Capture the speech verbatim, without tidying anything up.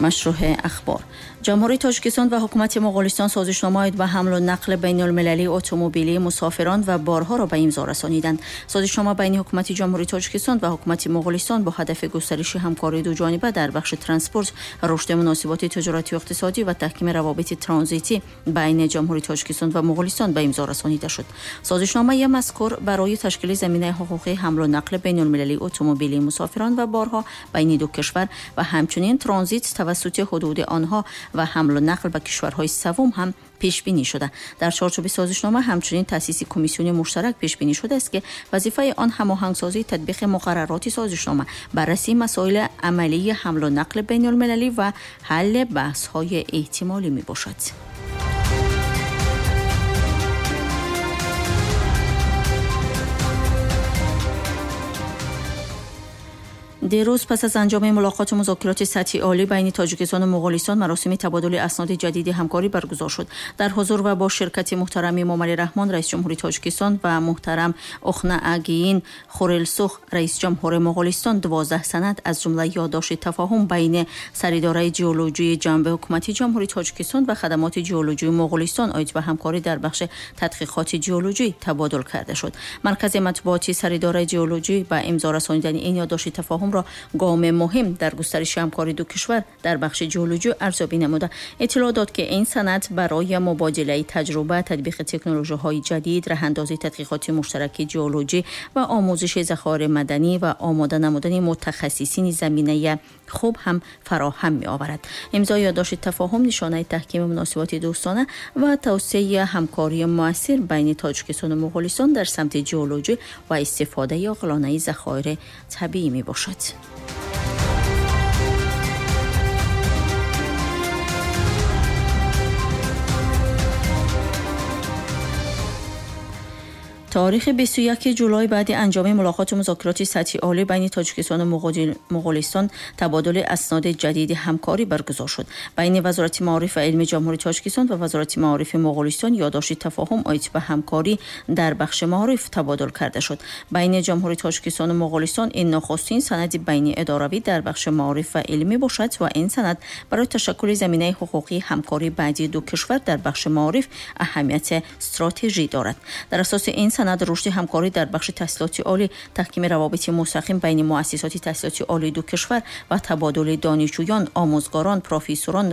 Машруҳи ахбор. Ҷумҳурии Тоҷикистон ва ҳукумати Моғулистон созишнома оид ба ҳамлу нақли байналмилалии автомобилии мусофирон ва борҳоро ба имзо расониданд. Созишнома байни ҳукумати Ҷумҳурии Тоҷикистон ва ҳукумати Моғулистон бо ҳадафи густариши ҳамкории дуҷониба дар бахши транспорт, рушди муносиботи тиҷоратию иқтисодӣ ва таҳкими равобити транзитӣ байни Ҷумҳурии Тоҷикистон ва Моғулистон ба имзо расонида шуд. Созишномаи мазкур барои ташкили заминаи ҳуқуқии ҳамлу нақли байналмилалии автомобилии мусофирон ва борҳо байни ду кишвар ва ҳамчунин транзит тавассути ҳудуди онҳо ва ҳамлу нақл ба кишварҳои севум ҳам пешбинӣ шуда. Дар чорчӯби созишнома ҳамчунин таъсиси комиссиони муштарак пешбинӣ шудааст, ки вазифаи он ҳамоҳангсозии татбиқи муқаррароти созишнома, баррасии масоили амалии ҳамлу нақли байналмилалӣ ва ҳалли баҳсҳои эҳтимолӣ мебошад. Дирӯз пас аз анҷоми мулоқоту музокироти сатҳи олӣ байни Тоҷикистону Моғулистон маросими табодули асноди ҷадиди ҳамкорӣ баргузор шуд. Дар ҳузур ва бо ширкати муҳтарам Эмомалӣ Раҳмон, раиси ҷумҳури Тоҷикистон, ва муҳтарам Ухнаагийн Хурэлсух, раиси ҷумҳури Моғулистон, дувоздаҳ санад аз ҷумла ёддошти тафоҳум байни Саридораи ҷеолоҷии ҷанби ҳукумати Ҷумҳурии Тоҷикистон ва хадамоти ҷеолоҷии Моғулистон оид ба ҳамкорӣ дар бахши тадқиқоти ҷеолоҷӣ табодул карда шуд. Маркази матбуоти Саридораи ҷеолоҷӣ ба имзо расонидани ин ёддошти тафоҳум гоми муҳим дар густариши ҳамкории ду кишвар дар бахши ҷеолоҷӣ арзёбӣ намуда, иттилоъ дод, ки ин санад барои мубодилаи таҷруба, татбиқи технологияҳои ҷадид, раҳандозии тадқиқоти муштараки ҷеолоҷӣ ва омӯзиши захоири маданӣ ва омода намудани мутахассисини заминаи хуб ҳам фароҳам меоварад. Имзои ёддошти тафоҳум нишонаи таҳкими муносиботи дӯстона ва тавсеаи ҳамкории муассир байни Тоҷикистону Моғулистон дар самти ҷеолоҷӣ ва истифодаи оқилонаи захоири табиӣ мебошад. Таърихи бисту якуми ҷулай баъди анҷоми мулоқоту музокироти сатҳи олӣ байни Тоҷикистону Моғулистон табодули асноди ҷадиди ҳамкорӣ баргузор шуд. Байни Вазорати маориф ва илми Ҷумҳурии Тоҷикистон ва Вазорати маорифи Моғулистон ёддошти тафоҳум оид ба ҳамкорӣ дар бахши маориф табодул карда шуд. Байни Ҷумҳурии Тоҷикистону Моғулистон ин нахустин санади байниидоравӣ дар бахши маориф ва илм мебошад ва ин санад барои ташаккули заминаи ҳуқуқии ҳамкорӣ баъди ду кишвар дар бахши маориф аҳамияти стратегӣ дорад. Дар асоси ин санад рушди ҳамкорӣ дар бахши таҳсилоти олӣ, таҳкими равобити мустақим байни муассисоти таҳсилоти олии ду кишвар ва табодули донишҷӯён, омӯзгорон, профессорон